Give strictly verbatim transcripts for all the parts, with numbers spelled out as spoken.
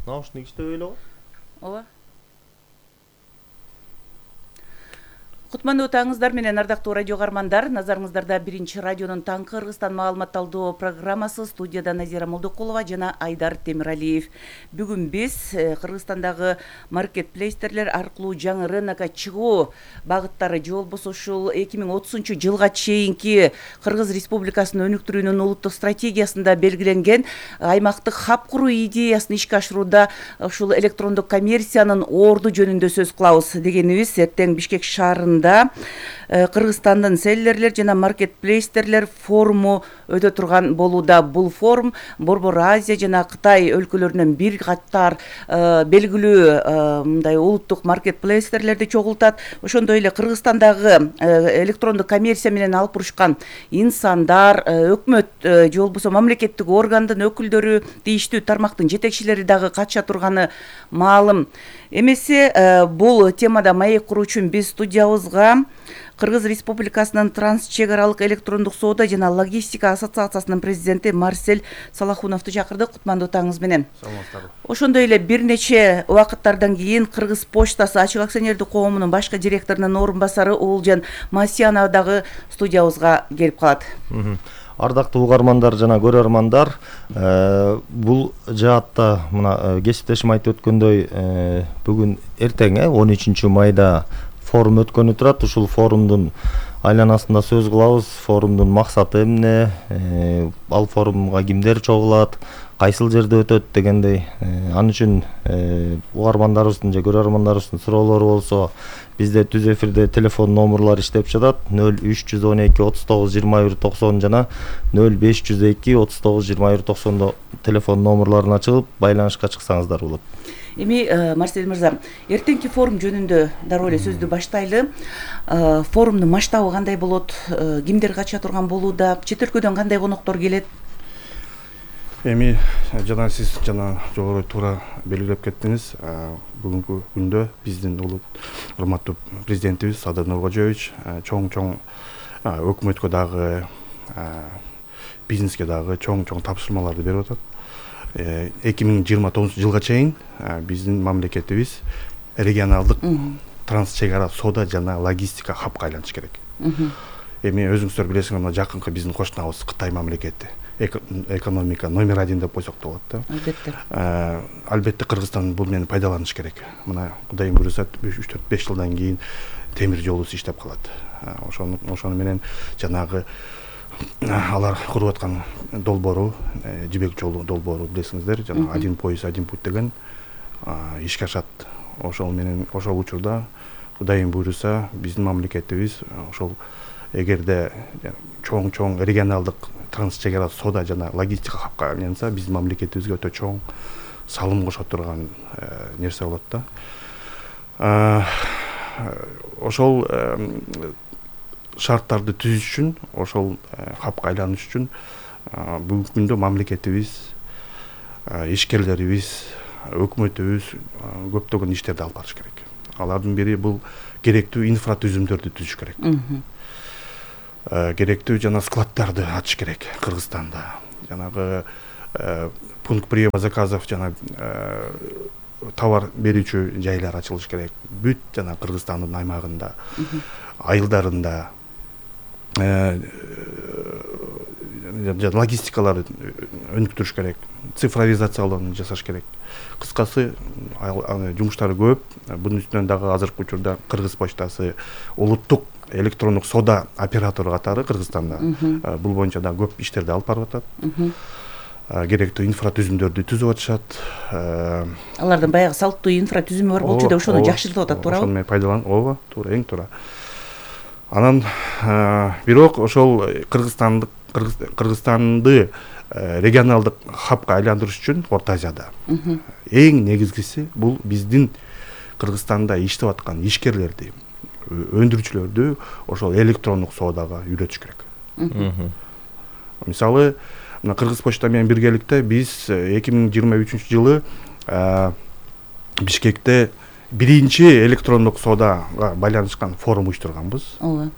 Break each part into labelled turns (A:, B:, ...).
A: Наушник иштебей эле го.
B: Ооба. Кутмандуу таңыңыздар менен ардактуу радио каармандар. Назарыңыздарда биринчи радионун таңкы Кыргызстан маалымат талдоо программасы. Студияда Назира Молдокулова жана Айдар Темиралиев. Бүгүн биз Кыргызстандагы маркетплейстерлер аркылуу жаңы рынокко чыгуу багыттары же болбосо ушул эки миң отузунчу жылга чейинки Кыргыз Республикасынын өнүктүрүүнүн улуттук стратегиясында белгиленген аймактык хаб куруу идеясын ишке ашырууда ушул электрондук коммерциянын орду жөнүндө сөз кылабыз дегенибиз. Эртең Бишкек шаарында Кыргызстандын селлерлер жана маркетплейстерлер форуму өтө турган болууда. Бул форум Борбор Азия жана Кытай өлкөлөрүнөн бир катар белгилүү мындай улуттук маркетплейстерлерди чогултат. Ошондой эле Кыргызстандагы электрондук коммерция менен алып бурушкан инсандар, өкмөт же болбосо мамлекеттик органдын өкүлдөрү, тийиштүү тармактын жетекчилери дагы катыша турганы маалым. Эмесе бул темада маек куруу үчүн биз студиябызга Кыргыз Республикасынын транс чек аралык электрондук соода жана логистика ассоциациясынын президенти Марсель Салахуновду чакырдык. Кутмандуу таңыңыз менен.
A: Саламатсыздарбы.
B: Ошондой эле бир нече убакыттардан кийин Кыргыз почтасы ачык акционердик коомунун башкы директорунун орун басары Уулжан Масьянов дагы студиябызга келип калат.
A: Ардактуу угармандар жана көрөрмандар, бул жаатта мына кесиптешим айтып өткөндөй, бүгүн эртең он үчүнчү майда форум өткөнү турат. Ушул форумдун айланасында сөз кылабыз. Форумдун максаты эмне, ал форумга кимдер чогулат, кайсыл жерде өтөт дегендей. Ал үчүн угармандарыбыздын же көрөрмандарыбыздын суроолору болсо, бизде түз эфирде телефон номерлор иштеп жатат. нөл үч жүз он эки отуз тогуз жыйырма бир токсон жана нөл беш жүз эки отуз тогуз жыйырма бир токсондо телефон номерларына чыгып байланышка чыксаңыздар болот.
B: Эми Марсель мырза, эртеңки форум жөнүндө дароо эле сөздү баштайлы. Форумдун масштабы кандай болот? Кимдер катыша турган болууда? Чет өлкөдөн кандай коноктор келет?
C: Эми жана сиз жана жогору туура белгилеп кеттиңиз. Бүгүнкү күндө биздин улут урматтуу президентибиз Садыр Нуркожоевич чоң-чоң өкмөткө дагы, бизнеске дагы чоң-чоң тапшырмаларды берип атат. эки миң жыйырма тогузунчу жылга чейин биздин мамлекетибиз регионалдык транс чек ара соода жана логистика хабка айланыш керек. Эми өзүңүздөр билесиңер, мына жакынкы биздин кошунабыз Кытай мамлекети экономика номер один деп койсок да болот да.
B: Албетте.
C: Албетте Кыргызстан бул менен пайдаланыш керек. Мына Кудайым буйруса үч төрт беш жылдан кийин темир жолубуз иштеп калат. Ошону ошону менен жанагы алар куруп аткан долбоору, жибек жолу долбоору билесиңиздер, жана один поезд один путь деген ишке ашат. Ошол менен ошол учурда Кудайым буйруса биздин мамлекетибиз ошол эгерде чоң-чоң регионалдык транс чек ара соода жана логистика хабка айланса, биздин мамлекетибизге өтө чоң салым кошо турган нерсе болот да. Ошол шарттарды түзүш үчүн, ошол хабка айланыш үчүн бүгүнкү күндө мамлекетибиз, ишкерлерибиз, өкмөтүбүз көптөгөн иштерди алып барыш керек. Алардын бири бул керектүү инфратүзүмдөрдү түзүш керек. Керектүү жана складдарды ачыш керек Кыргызстанда. Жанагы пункт приема заказов жана товар берүүчү жайлар ачылыш керек. Бүт жана Кыргызстандын аймагында, айылдарында логистикаларды өнүктүрүш керек, цифровизациялоону жасаш керек. Кыскасы, жумуштары көп. Бунун үстүнөн дагы азыркы учурда Кыргыз почтасы улуттук электрондук соода оператору катары Кыргызстанда бул боюнча да көп иштерди алып барып атат. Керектүү инфратүзүмдөрдү түзүп атышат.
B: Алардын баягы салттуу инфратүзүмү бар болчу да ошону жакшыртып атат, туурабы?
C: Ошону менен пайдаланып, ооба, туура, эң туура. Анан бирок ошол Кыргызстандык Кыргызстанды регионалдык хабка айландырыш үчүн Орто Азияда эң негизгиси бул биздин Кыргызстанда иштеп аткан ишкерлерди, өндүрүүчүлөрдү ошол электрондук соодага үйрөтүш керек. Мисалы, мына Кыргыз почта менен биргеликте биз эки миң жыйырма үчүнчү жылы Бишкекте биринчи электрондук соодага байланышкан форум уюштурганбыз.
B: Ооба.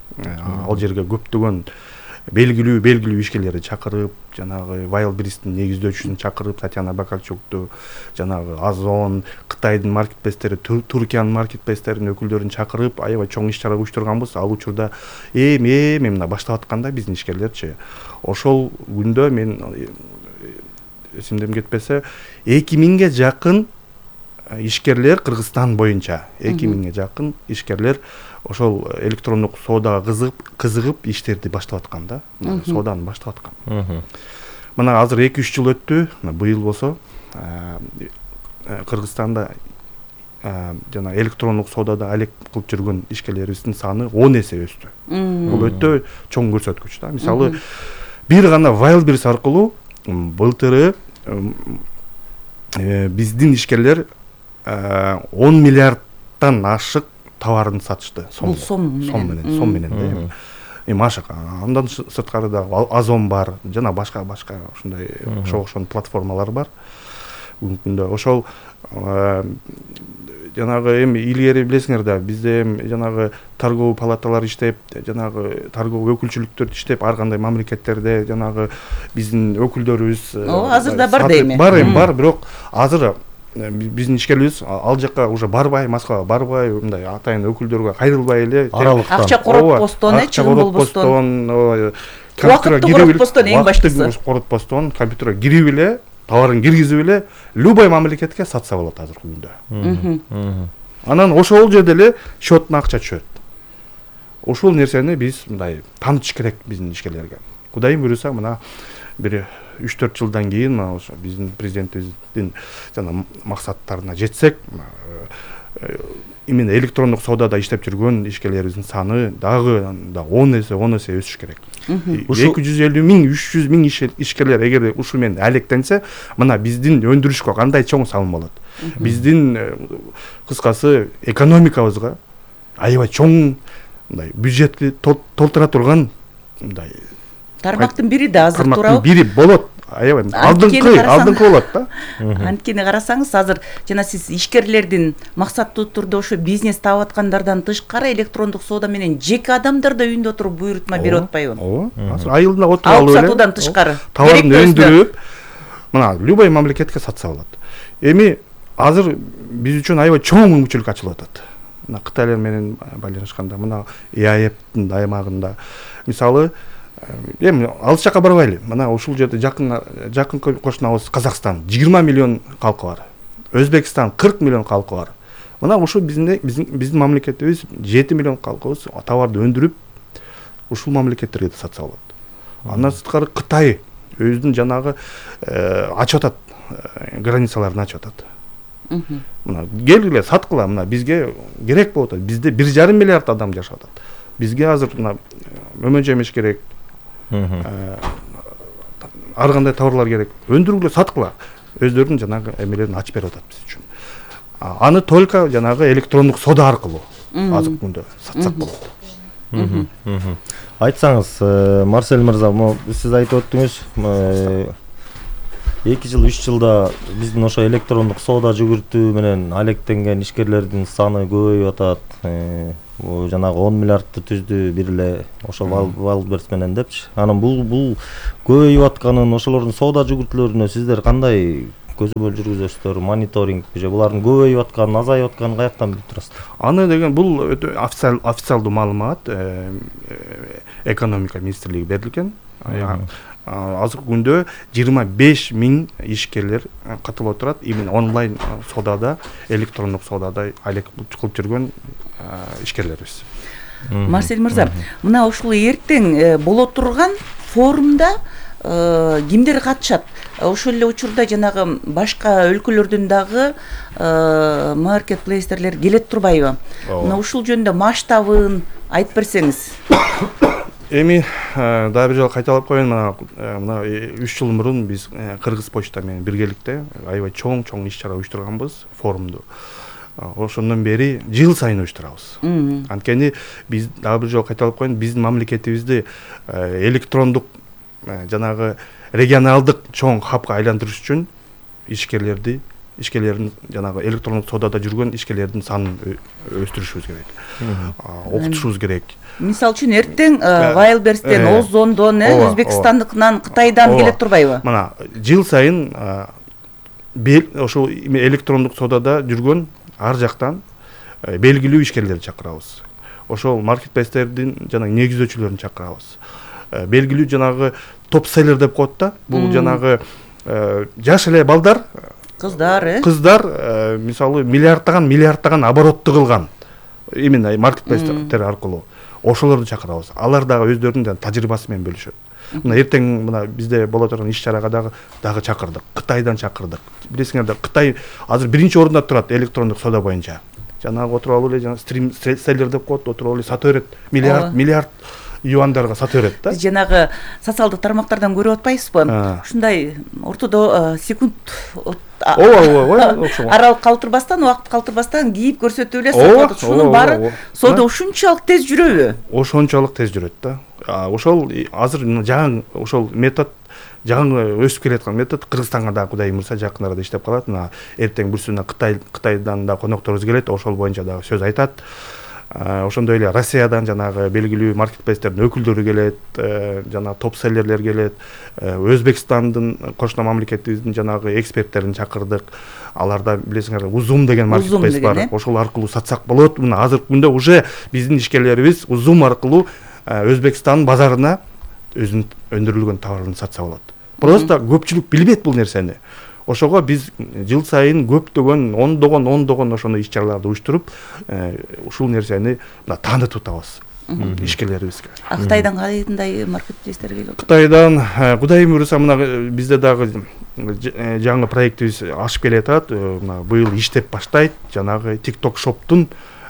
C: Ал жерге көптөгөн белгилүү белгилүү ишкерлерди чакырып, жанагы Wildberries'тин негиздөөчүсүн чакырып, Татьяна Бакарчукту, жанагы Озон, Кытайдын маркетплейстери, Түркиянын маркетплейстеринин өкүлдөрүн чакырып, аябай чоң иш чара уюштурганбыз. Ал учурда эми эми мына баштап атканда биздин ишкерлерчи, ошол күндө мен эсимден кетпесе эки миңге жакын ишкерлер Кыргызстан боюнча эки миңге жакын ишкерлер ошол электрондук соодага кызыгып кызыгып иштерди баштап аткан да. Сооданы баштап аткан. Мына азыр эки үч жыл өттү. Быйыл болсо Кыргызстанда жана электрондук соодада алек кылып жүргөн ишкерлерибиздин саны он эсе өстү. Бул өтө чоң көрсөткүч да. Мисалы, бир гана Wildberries аркылуу былтыры биздин ишкерлер он миллиардтан ашык товарын сатышты.
B: Бул сом
C: менен, сом менен да. Эми ашык. Андан сырткары да Озон бар, жана башка башка ушундай ошого окшогон платформалар бар. Бүгүнкүндө ошол жанагы эми илгери билесиңер да, бизде эми жанагы торговый палаталар иштеп, жанагы торговый өкүлчүлүктөр иштеп, ар кандай мамлекеттерде жанагы биздин өкүлдөрүбүз
B: азыр да бар дейм.
C: Бар эми бар, бирок азыр биздин ишкерлерибиз ал жакка уже барбай, Москвага барбай, мындай атайын өкүлдөргө кайрылбай эле
B: акча коротпостон, чыгым болбостон,
C: компьютерге кирип
B: коротпостон эң баштысы.
C: Коротпостон, компьютерге кирип эле, товарын киргизип эле любой мамлекетке сатса болот азыркы күндө. Анан ошол жерде эле счетуна акча түшөт. Ошол нерсени биз мындай таанытыш керек биздин ишкерлерге. Кудайым буйруса, мына бир үч төрт жылдан кийин мына ошо биздин президентибиздин жана максаттарына жетсек, именно электрондук соодада иштеп жүргөн ишкерлерибиздин саны дагы да он эсе он эсе өсүш керек. эки жүз элүү миң, үч жүз миң ишкерлер эгер ушул менен алектенсе, мына биздин өндүрүшкө кандай чоң салым болот. Биздин кыскасы экономикабызга аябай чоң мындай бюджетти толтура турган мындай
B: тармактын бири да азыр туурабы?
C: Тармактын бири болот. Аябай алдыңкы алдыңкы болот да.
B: Анткени карасаңыз, азыр жана сиз ишкерлердин максаттуу турдо ошо бизнес таап аткандардан тышкары электрондук соода менен жеке адамдар да үйүндө отуруп буйрутма берип атпайбы?
C: Ооба. Азыр айылда отуруп алып
B: эле сатуудан тышкары
C: товарын өндүрүп, мына любой мамлекетке сатса болот. Эми азыр биз үчүн аябай чоң мүмкүнчүлүк ачылып атат. Мына Кытайлар менен байланышканда, мына и а эптин аймагында мисалы эми алыс жакка барбайлы. Мына ушул жерде жакын жакын кошунабыз Казакстан жыйырма миллион калкы бар. Өзбекстан кырк миллион калкы бар. Мына ушул биздин биздин мамлекетибиз жети миллион калкыбыз товарды өндүрүп ушул мамлекеттерге да сатса болот. Андан сырткары Кытай өзүнүн жанагы ачып атат, границаларын ачып атат. Мына келгиле саткыла, мына бизге керек болуп атат. Бизде бир жарым миллиард адам жашап атат. Бизге азыр мына мөмө жемиш керек. Ар кандай товарлар керек. Өндүргүлө саткыла. Өздөрүнүн жанагы эмелерин ачып берип атат биз үчүн. Аны только жанагы электрондук соода аркылуу азыр күндө сатсак болот.
A: Айтсаңыз, Марсель мырза, сиз айтып өттүңүз, эки жыл үч жылда биздин ошо электрондук соода жүгүртүү менен алектенген ишкерлердин саны көбөйүп атат. Жанагы он миллиардты түздү бир эле ошо Wildberries менен депчи. Анан бул бул көбөйүп атканын, ошолордун соода жүгүртүүлөрүнө сиздер кандай көзөмөл жүргүзөсүздөр, мониторинг же булардын көбөйүп атканын, азайып атканын каяктан билип турасыздар?
C: Аны деген бул өтө официалдуу маалымат экономика министрлиги берилген. Азыркы күндө жыйырма беш миң ишкерлер катылып отурат, именно онлайн соодада, электрондук соодада алек кылып жүргөн ишкерлерибиз.
B: Марсель мырза, мына ушул эртең боло турган форумда кимдер катышат? Ошол эле учурда жанагы башка өлкөлөрдүн дагы маркетплейстерлер келет турбайбы? Мына ушул жөнүндө масштабын айтып берсеңиз.
C: Эми дагы бир жолу кайталап коеюн, мына мына үч жыл мурун биз Кыргыз почта менен биргеликте аябай чоң-чоң иш чара уюштурганбыз, форумду. Ошондон бери жыл сайын уюштурабыз. Анткени биз дагы бир жолу кайталап коеюн, биздин мамлекетибизди электрондук жанагы регионалдык чоң хабга айландырыш үчүн ишкерлерди ишкерлердин жанагы электрондук соодада жүргөн ишкерлердин санын өстүрүшүбүз керек, окутушубуз керек.
B: Мисалы үчүн эртең Вайлберстен, Озондон, Өзбекстандыкынан, Кытайдан келе турбайбы?
C: Мына жыл сайын ошол электрондук соодада жүргөн ар жактан белгилүү ишкерлерди чакырабыз. Ошол маркетплейстердин жанагы негиздөөчүлөрүн чакырабыз. Белгилүү жанагы топ-селлер деп коет да. Бул жанагы жаш эле балдар,
B: кыздар, э?
C: Кыздар, мисалы, миллиардтаган, миллиардтаган оборотду кылган именно маркетплейстер аркылуу ошолорду чакырабыз. Алар дагы өздөрүнүн тажрыйбасы менен бөлүшөт. Мына эртең мына бизде боло турган иш-чарага дагы дагы чакырдык. Кытайдан чакырдык. Билесиңер да, Кытай азыр биринчи орунда турат электрондук соода боюнча. Жанагы отуруп алып эле жана стрим селлер деп коет, отуруп алып сата берет. Миллиард, миллиард юандарга сата берет да.
B: Биз жанагы социалдык тармактардан көрүп атпайбызбы? Ушундай ортодо секунд
C: ооба ооба окшогон
B: аралык калтырбастан, убакыт калтырбастан кийип көрсөтүп эле сатып. Шунун баары соода ушунчалык тез жүрөбү?
C: Ошончолук тез жүрөт да. Ошол азыр жаңы ошол метод жаңы өсүп келаткан метод Кыргызстанга да Кудай буйрса жакын арада иштеп калат. Мына эртең бүрсүнө Кытай Кытайдан да конокторубуз келет, ошол боюнча дагы сөз айтат. Ошондой эле Россиядан жанагы белгилүү маркетплейстердин өкүлдөрү келет, жана топ-селлерлер келет. Өзбекстандын кошуна мамлекетибиздин жанагы эксперттерин чакырдык. Аларда билесиңер Узум деген маркетплейс бар. Ошол аркылуу сатсак болот. Мына азыркы күндө уже биздин ишкерлерибиз Узум аркылуу Өзбекстан базарына өзүнүн өндүрүлгөн товарын сатса болот. Просто көпчүлүк билбейт бул нерсени. Ошого биз жыл сайын көптөгөн ондогон ондогон ошондой иш-чараларды уюштуруп, ушул нерсени мына таанытып атабыз ишкерлерибизге.
B: Кытайдан кандай маркетплейстер келип атат?
C: Кытайдан Кудай буйрса мына бизде дагы жаңы проектибиз ашып келатат. Мына быйыл иштеп баштайт. Жанагы TikTok Shop'тун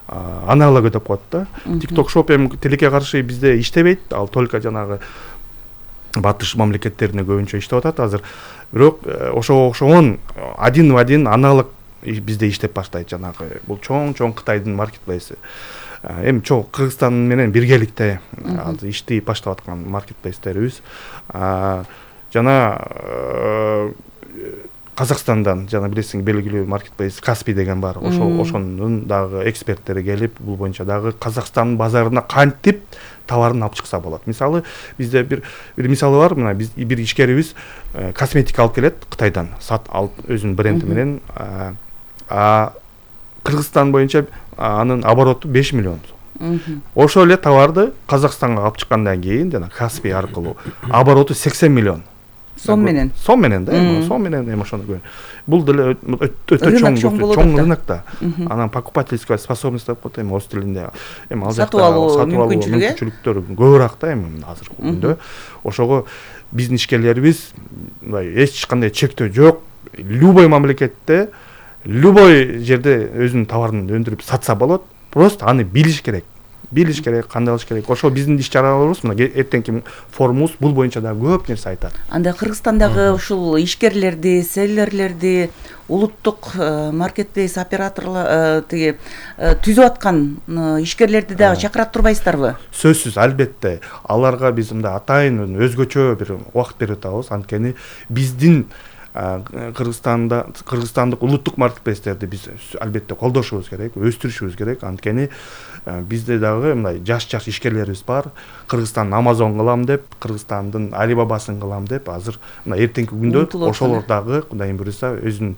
C: аналогу деп коет да. TikTok Shop эми тилекке каршы бизде иштебейт, ал только жанагы батыш мамлекеттерине көбүнчө иштеп атат азыр. Бирок ошого окшогон один в один аналог бизде иштеп баштайт жанагы. Бул чоң-чоң Кытайдын маркетплейси. Эми чоң Кыргызстан менен биргеликте азыр иштей баштап аткан маркетплейстерибиз. Жана Казакстандан жана билесиң белгилүү маркетплейс Каспий деген бар. Ошол ошонун дагы эксперттери келип, бул боюнча дагы Казакстан базарына кантип товарын алып чыкса болот. Мисалы, бизде бир бир мисалы бар. Мына биз бир ишкерибиз косметика алып келет Кытайдан, сат алып өзүнүн бренди менен. А Кыргызстан боюнча анын обороту беш миллион сом. Ошол эле товарды Казакстанга алып чыккандан кийин жана Каспий аркылуу обороту сексен миллион.
B: Сом менен.
C: Сом менен да, сом менен эми ошону көрүн. Бул деле өтө чоң чоң рынок да. Анан покупательская способность деп коет эми орус тилинде. Эми ал жакта сатып алуу мүмкүнчүлүктөр көбүрөөк да эми азыркы күндө. Ошого биздин ишкерлерибиз мындай эч кандай чектөө жок. Любой мамлекетте, любой жерде өзүнүн товарын өндүрүп сатса болот. Просто аны билиш керек. Билиш керек, кандай кылыш керек. Ошол биздин иш-чараларыбыз мына эртеңки форумубуз бул боюнча да көп нерсе айтат.
B: Анда Кыргызстандагы ушул ишкерлерди, селлерлерди, улуттук маркетплейс операторлор тиги түзүп аткан ишкерлерди дагы чакырат турбайсыздарбы? Сөзсүз,
C: албетте. Аларга биз мындай атайын өзгөчө бир убакыт берип атабыз. Анткени биздин Кыргызстанда Кыргызстандык улуттук маркетплейстерди биз албетте колдошубуз керек, өстүрүшүбүз керек. Анткени бизде дагы мындай жаш-жаш ишкерлерибиз бар. Кыргызстан Amazon кылам деп, Кыргызстандын Alibaba'сын кылам деп, азыр мына эртеңки күндө ошолор дагы Кудай буйрса өзүнүн